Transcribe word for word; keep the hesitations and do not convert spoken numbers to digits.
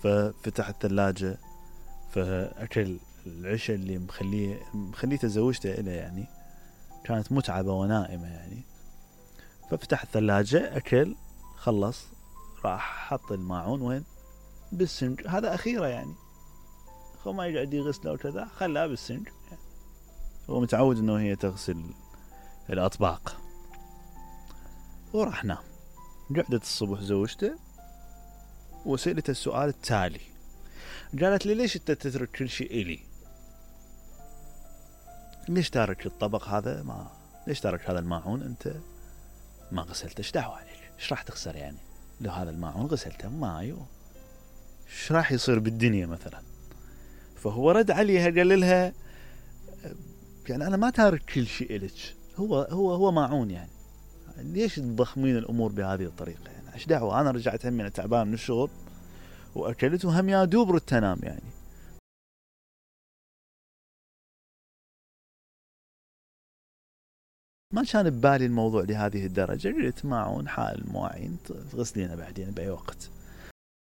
ففتح الثلاجة فأكل العشاء اللي مخليه مخليته زوجته إله يعني، كانت متعبة ونائمة يعني. ففتح الثلاجة أكل خلص، راح حط الماعون وين؟ بالسنج. هذا أخيرا يعني، هو ما يقعد يغسله وكذا، خلاه بالسنج يعني. هو متعود إنه هي تغسل الأطباق. وراح نام. قعدت الصبح زوجته وسألته السؤال التالي، قالت لي ليش انت تترك كل شيء إلي؟ ليش تارك الطبق هذا؟ ما ليش تارك هذا الماعون انت ما غسلته؟ ايش دعوة عليك؟ ايش راح تخسر يعني لو هذا الماعون غسلته؟ ما ايوه، ايش راح يصير بالدنيا مثلا؟ فهو رد عليها قال لها يعني انا ما تارك كل شيء إلك، هو هو هو ماعون يعني، ليش تضخمين الامور بهذه الطريقة يعني؟ ايش دعوة؟ انا رجعت همي انا تعبان من الشغل واكلت وهم يا دوب رد تنام يعني. ما كان ببالي الموضوع لهذه الدرجة. قلت ماعون حال المواعين تغسلينه بعدين بأي وقت.